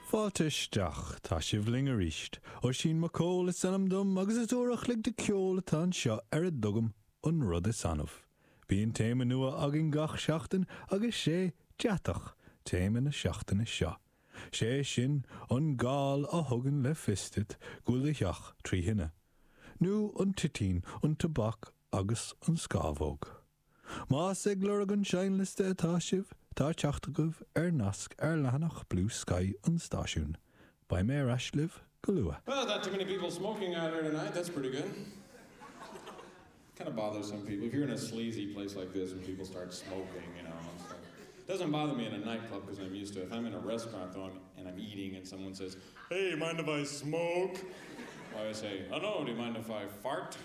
Fáilte isteach, tá sibh linn arís. Oisín Mac Cóil is ainm dom agus is uair a chloig de ceol atá anseo ar a dtugaim an rud is annamh. Bíonn téama nua againn gach seachtain agus sé deatach téama na seachtaine seo. Sé sin an gal a thugann le fios duit go bhfuil do theach trí thine. Nó an toitín, an tobac agus an scámhóg. Más ag lorg an seinnliosta atá sibh, tá teacht agaibh ar nasc ar leathanach Bluesky an stáisiúin. Beidh mé ar ais libh go luath. Well, not too many people smoking out here tonight. That's pretty good. Kind of bothers some people. If you're in a sleazy place like this and people start smoking, you know, it's like, it doesn't bother me in a nightclub because I'm used to it. If I'm in a restaurant, though, I'm, and I'm eating and someone says, hey, mind if I smoke? Well, I say, oh no, do you mind if I fart?